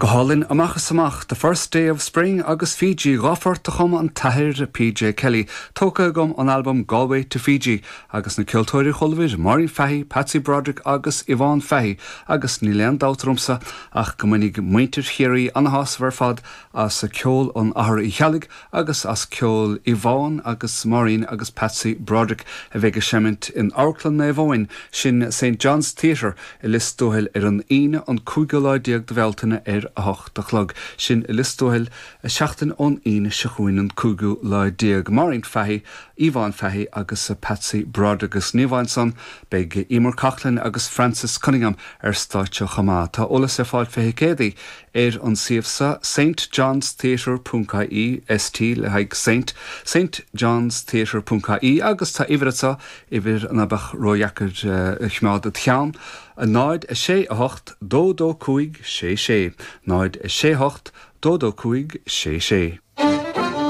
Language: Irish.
Go hálainn amach is amach, The First Day of Spring agus Fiji, 2 phort a chum an tAthair PJ Kelly, tógtha agam ón albam Galway to Fiji, agus na ceoltóirí a chualabhair, Máirín Fahy, Patsy Broderick agus Yvonne Fahy, agus níl aon dabht ormsa ach go mbainfidh muintir Chiarraí ana-shásamh ar fad as ceol an Athar Uí Cheallaigh agus as ceol Yvonne agus Máirín agus Patsy Broderick a bheidh ag seimint in Amharclann Naomh Eoin, sin Saint John's Theatre i Lios Tuathail ar an Aoine an cúigiú lá déag de Bhealtaine ar a hocht a chlog. Sin i Lios Tuathail seachtain ón Aoine seo chugainn an cúigiú lá déag. Máirín Fahy, Yvonne Fahy agus Patsy Broderick agus ní amháin san, beidh Emer Coughlan agus Francis Cunningham ar stáitse chomh maith. Tá eolas ar fáil fé thicéadaí ar an suíomh seo, stjohnstheatre ponc ie, ST le haghaidh Saint, stjohnstheatre ponc ie, agus tá uimhir anseo, uimhir ná beadh ródheacair a choimeád id cheann, 0 6 8 2 2 5 6 6, 0 6 8 2 2 5 6 6.